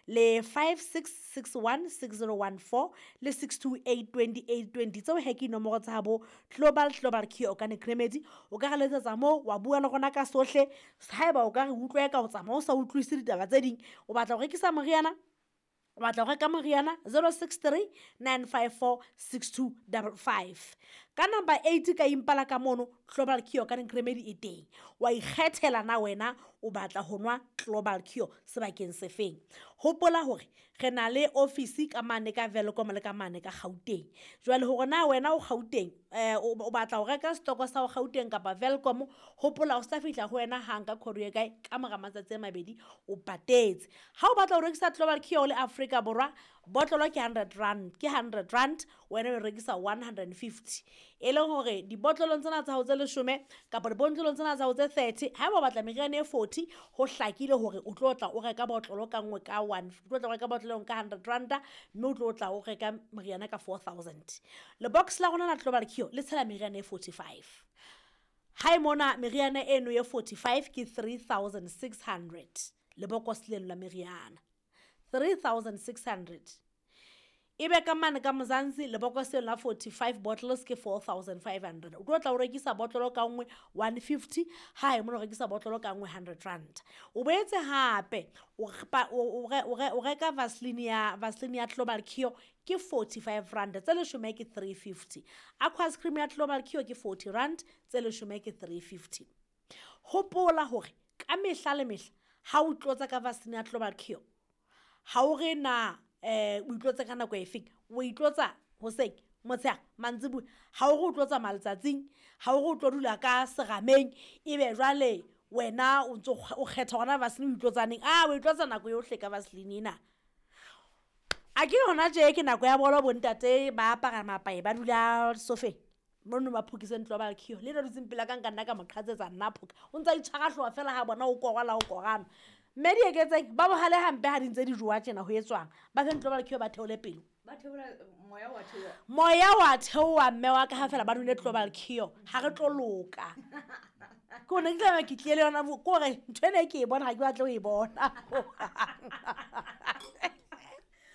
Le 5661 6014 le 628 2820. Tseo he ke dinomoro tsa bo Global Global Cure Organic Remedy. O ka re letsetsa moo wa bua le rona ka sohle. Haeba o ka re utlwe ka o tsamaya o sa utlwisise ditaba tse ding, o batla ho rekisa moriana, o batla ho reka moriana, 063 954 6255. Ka number 8 ka Impala ka mono, Global Cure Organic Remedy e teng. Wa ikgethela na wena o batla ho nwa Global Cure sebakeng se feng. Hopola hore re na le office ka mane ka Welkom le ka mane ka Gauteng. Jwale hore na wena o Gauteng, o batla ho reka stoko sa ho Gauteng kapa Welkom, hopola o sa fihla ho wena hang ka courier kae ka mora matsatsi a mabedi o patetse. Ha o batla ho rekisa Global Cure le Afrika Borwa, botlolo ke 100 rand, ke 100 rand, wena o rekisa 150. E leng hore dibotlolong tsena tsa hao tse 10 kapa dibotlolong tsena tsa hao tse 30, haeba o batla meriana e 40, ho hlakile hore o tlo tla o reka botlolo ka nngwe ka one, o tlo tla o reka botlolo ka 100 rand, mme o tlo tla o reka meriana ka 4000. Le box la rona la Global Cure le tshela meriana e 45. Hae mona meriana eno ye 45 ke 3600. Le bokos leno la meriana 3600. Ebe ka mane ka Mzansi lebokoseng la 45 bottles ke 4500. O tlo tla o rekisa botlolo ka nngwe 150, hae mona o rekisa botlolo ka nngwe 100 rand. O boetse hape o reka Vaseline ya Global Cure ke 45 rand, tse leshome ke 350. Aqua cream ya Global Cure ke 40 rand, tse leshome ke 350. Hopola hore ka mehla le mehla ha o tlotsa ka Vaseline ya Global Cure, ha o re na o itlotse ka nako efeng, o itlotsa hoseng, motshehare, mantsiboya, ha o re o tlotsa maletsatsing, ha o re o tlo dula ka serameng, ebe jwale wena o ntso o kgetha hona Vaseline o itlotsaneng. Ah, o itlotsa nako yohle ka Vaseline ena. A ke hona tje ke nako ya bolo, bontate ba apara mapae, ba dula sofeng mono ba phokise Global Cure. Le ena dutseng pela ka nka nna ka mo qhatsetsa nna phoka. O ntsa itshwara hlooho fela ha bona o korwa la o korana. Mme di eketseng ba bohale hampe ha di ntse di jowa tjena ho etswang. Ba fe Global Cure ba theole pelo. Ba theola moya wa theoha. Moya wa theoha mme wa ka ha fela ba nwele Global Cure. Ha re tlo loka. Ke hone ke tlameha ke tlile le yona ke hore ntho ena e ke e bona ha ke batle ho e bona.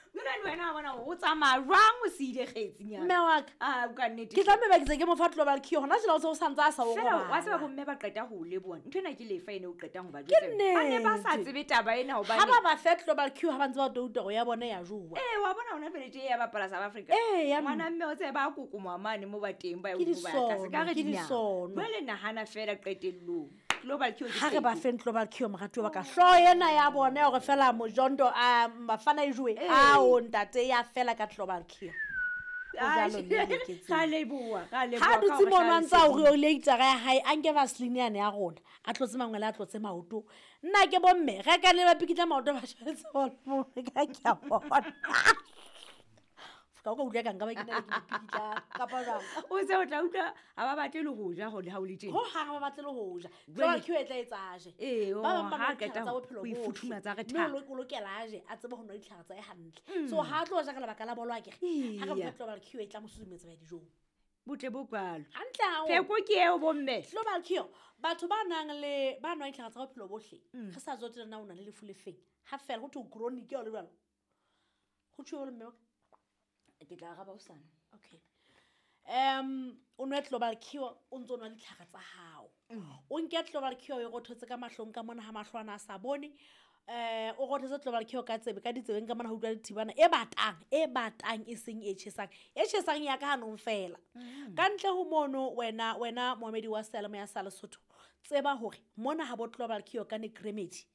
Jwale le wena wa bona o tsamaya jwang o siile kgetsinyana? Mme wa ka. Ah, o ka nnete. Ke tlameha ba ke tse ke mo fa Global Cure. Hona jwale o se o santse a sa o Fela, robala. wa tseba bomme ba qeta ho leboha. Ntho ena ke lefa ene o qetang ho ba Ke jwetsa. Ba ne ba sa nnete. tsebe taba ena hobane Ha ba ba fe Global Cure ha ba ntse ba touta hore ya bona ya jowa. Eh, wa bona hona jwale tje ya bapala South Africa. Eh, ya Ngwana mme o tsebe ba kokomoa mane mo ba teng ba Ke ya ho ba tlase. Ka re disono, ke dinyawo. disono. Jwale nahana fela qetellong. Global Cure ke Ha re ba pheko. feng Global Cure moratuwa wa ka. Hlooho ena ya bona ya hore fela mojondo a bafana e jowe. Eh. Ao ntate ya fela ka Global Cure. Ho Ai, jwalo mme le ketseng. ra leboha, ra leboha Ha ka dutse hore mono a hlalosetsa. ntse a hore o le itara ya hae, a nke Vaseline yane ya rona, a tlotse mangwele, a tlotse maoto. Nna ke bomme, reka le ba pikitla maoto ba shebetse bolo, ka ke a bona. Ka o ka utlwa ka nka ba ke na le ke dipikitla kapa jwang. O se o tla utlwa ha ba batle le ho ja hore ha o le teng. Ho hang ha ba batle le ho ja. Jwale Global Cure e tla etsa a je. Ee, Ba bang ba ha nwa ditlhare qeta tsa ho bophelo ho bohle. ifuthumatsa re Mme tha. o lokela a je, a tsebe ho nwa ditlhare tsa hae hantle. So ha a tlo ja ka lebaka la bolo akere. Ha re mo fa Global Cure e tla mo susumetsa ho ya dijong. Botle bo kwalo. Hantle haholo. Pheko ke eo bomme. Global Cure, batho ba nang le ba nwang ditlhare tsa bophelo bohle, re sa tsotelle na o na le lefu le feng. Ha fela ho thwe chronic ya o le jwalo. Ho thwe jwalo mme wa ka? Ke tla araba hosane. Okay. O nwe Global Cure, o ntso nwa ditlhare tsa hao. O nke Global Cure o e rothotse ka mahlong ka mona ha mahlo ana a sa bone. O rothotse Global Cure ka tsebe, ka ditsebeng ka mona ho utlwa dithibana e batang, e batang e seng e tjhesang. E tjhesang ya ka hanong fela. Ka ntle ho mono wena moemedi wa seyalemoya sa Lesotho, tseba hore mona ha bo Global Cure ka Organic Remedy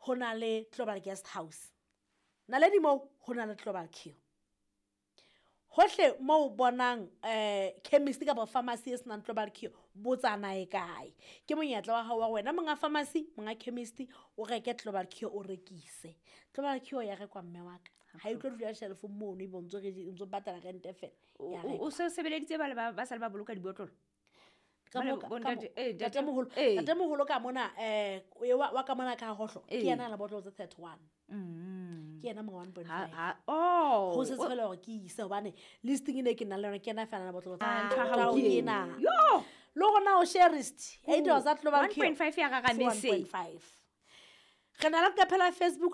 ho na le Global Guest House. Naledi moo ho na le Global Cure. Hohle moo o bonang chemist kapa pharmacy e senang Global Cure, botsa na e kae. Ke monyetla wa hao wa wena monga pharmacy, monga chemist, o reke Global Cure o rekise. Global Cure ya rekwa mme wa ka. Ha e tlo dula shelf mono ebe o ntso re ntso patala rent fela. Ya O rekwa. se sebeleditse ba le ba sale ba boloka dibotlolo? Ka Ba le mo ka- bo ka mo- ntate, eh, ntate- ntatemoholo, eh. ntatemoholo ka mona, wa ka mona ka hohlo, ke Eh. yena a la botlolo tse 31. Ke yena monga one point Ha, five. ha, oh, Ho setse o- fela hore ke ise hobane listing e ne ke nang le yona, ke yena fela a na botlolo tse Ah, ntho ya thirty-one. hao ke Ke ena. ena. Yo! Le rona o sharist, ya ditaba tsa Global Cure. 1.5 ya Ke raramese. 1.5. Re na le leqephe la Facebook.